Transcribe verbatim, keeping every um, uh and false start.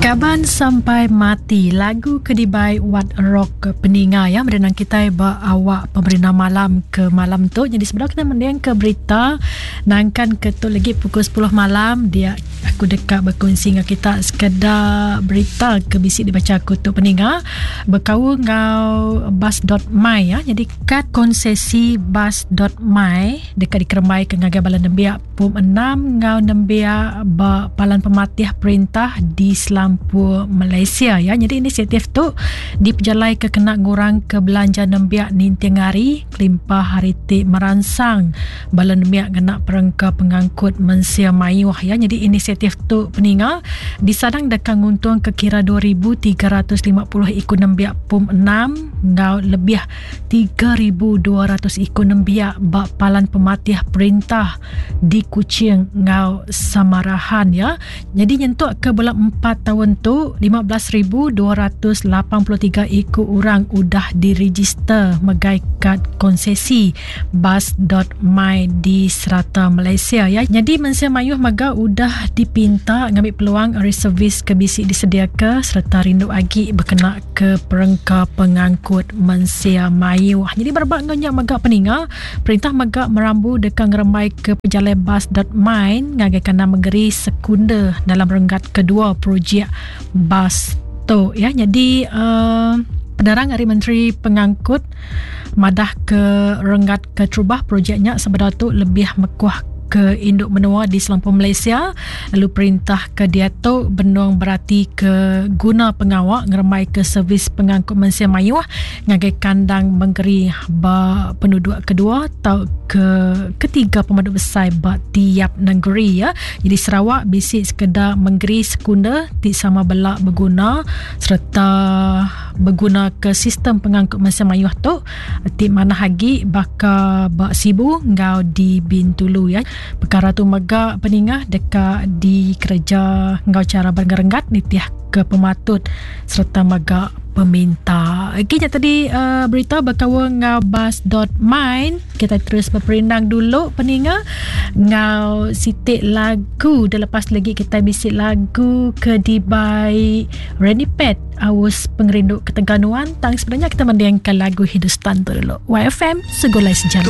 Kaban Sampai Mati lagu ke dibai Wat Rock peninga ya merenang kitai ba awak pemerintah malam ke malam tu. Jadi sebelum kita mending ke berita nangkan ke tu lagi pukul sepuluh malam dia aku dekat berkongsi dengan kita sekedar berita ke bisi dibaca aku tu peninga berkaul ngau bus dot my ya. Jadi kad konsesi bus dot my dekat dikerembai ke ngagai bala nembiak pum enam ngau nembiak ba palan pematih perintah di Selampur Malaysia ya. Jadi inisiatif tu dipejalai ke kena ngurang ke belanja nembiak ninting hari kelimpah hari ti meransang bala nembiak kena perengka pengangkut mensia mayuh ya. Jadi inisiatif tu peninga disadang dekat nguntung ke kira dua ribu tiga ratus lima puluh ikut nembiak pum enam ngau lebih tiga ribu dua ratus ikut nembiak ba palan pematih perintah di Kuching ngau Samarahan ya. Jadi nyentuk ke bulan empat tahun tu lima belas ribu dua ratus lapan puluh tiga ikut orang udah diregister megai kad konsesi bus dot my di serata Malaysia ya. Jadi mensia mayuh mega udah dipinta ngambil peluang ari servis ke bisi disediaka serta rindu agi berkena ke perengka pengangkut mensia mayuh. Jadi berbak ngonyak mega peninga perintah mega merambu dekat ngerembai ke pejalai bus dot my ngagai kandang negeri sekunder dalam renggat kedua projek bus tu ya. Jadi uh, penerang ari Menteri Pengangkut madah ke renggat keterubah projeknya sebenar tu lebih mekuah ke induk menua di Selampur Malaysia lalu perintah ke dia tu benung berarti ke guna pengawak ngeremai ke servis pengangkut mensia mayuh ngagai kandang mengeri ba penduduk kedua atau ke ketiga pemandu besar ba tiap negeri ya. Jadi Sarawak bisi sekedar mengeri sekunder ti sama belak berguna serta berguna ke sistem pengangkut mensia mayuh tu ti mana hagi baka ba Sibu ngau di Bintulu ya. Perkara tu mega peningah dekat di kerja ngau cara bergerenggat nitiah ke pematut serta mega peminta. Okey, tadi uh, berita berkawan ngau bus dot my. Kita terus berperindang dulu peninga ngau sitik lagu. Dah lepas lagi kita bisik lagu ke dibai Randy Pet Aus Pengerindu Keteganuan. Tang sebenarnya kita mendiangkan lagu Hindustan tu dulu. Y F M Segulai Sejarah.